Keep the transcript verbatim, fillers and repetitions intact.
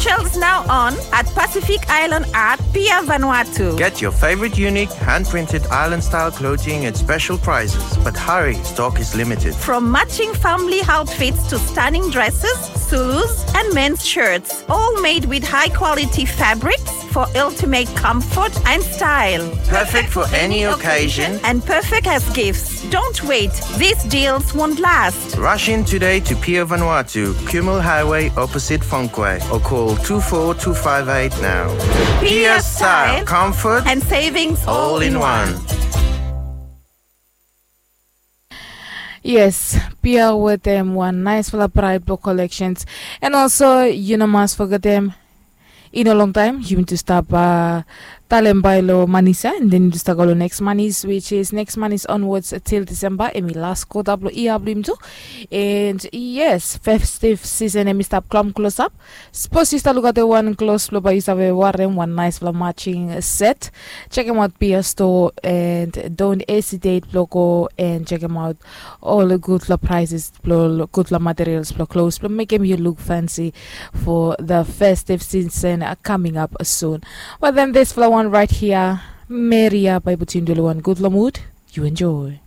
Shells now on at Pacific Island Art, Pier Vanuatu. Get your favorite unique hand-printed island-style clothing at special prices, but hurry, stock is limited. From matching family outfits to stunning dresses, Zulus, and men's shirts, all made with high-quality fabrics for ultimate comfort and style. Perfect for any occasion and perfect as gifts. Don't wait, these deals won't last. Rush in today to Pier Vanuatu, Kumul Highway, opposite Funkway, or call two four two five eight now. Pier style, comfort, and savings all in one. Yes, Pier wetem wan naesfala bright blue collections. And also, you no must forget them. In a long time, yumi tu stap uh, talem bai lo Manisa, and then yumi tu stap go lo next Manis, which is next Manis onwards till December. Emi last quarter blo ia blo yumi tu. And yes, festive season emi stap klom close up. Suppose you start look at the one close blo bai you save warem one nice blo matching set. Check him out P S Store and don't hesitate blo go and check him out. All the good blo prices, blo good blo materials, blo clothes, blo make him you look fancy for the festive season uh, coming up soon. But then this blo one right here, Maria by Butindulu one good blo mood. You enjoy.